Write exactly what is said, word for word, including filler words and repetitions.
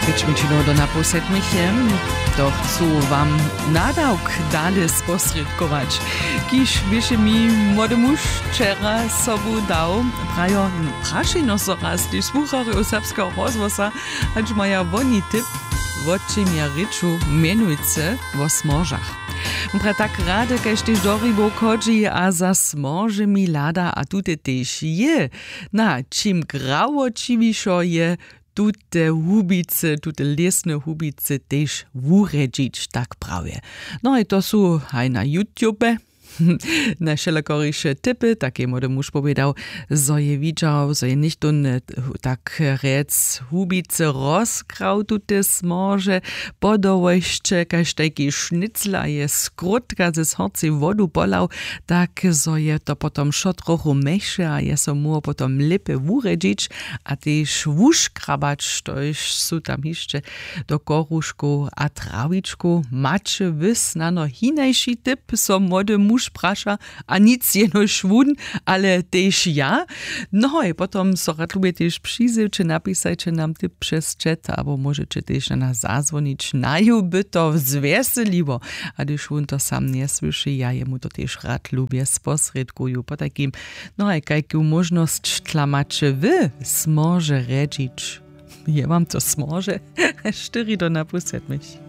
Pěć minut do na pół sedmich je. To chcu wam nadawk dale sposrědkować, kiž běše mi młody muž wčera sobu dał. Prajo, prašejno so raz tež słucharjow serbskeho rozhłosa, hač maja woni typ, wo čim ja rěču, mjenujcy wo smoržach. Mpra tak rady kaž tež do hribow chodźi a za smoržemi hlada a tute tež je. Na čim grawoćiwišo je tute hubicy, tute lěsne hubicy tež wurjedźić, tak prawje. No i to su haj na youtube na wšelakoriše typy, tak je młody muž powědał, zo je widźał, zo je něchtón, tak rjec, hubicy rozkrał tute smorže, podołojsće kaž tajki šnicla je skrótka ze zhorcej wodu polał, tak zo je to potom wšo trochu mjechše a je so móhł potom lěpje wurjedźić a tež wuškrabać, štož su tam hišće do koruškow a trawičkow. Maće wy snano hinaši typ, so młody muž praša, a nic jenož wón, ale tež ja. No i potom so rad lubje tež přizjewće, napisajće nam typ přez chat abo móžeće tež na nas zazwonić, naju by to zwjeseliło. A hdyž wón to sam njesłyši, ja jemu to tež rad lubje sposrědkuju. Potajkim, no a kajku móžnosć tla maće wy smorže rjedźić? Je wam to smorže? Štyri do na pół sedmich.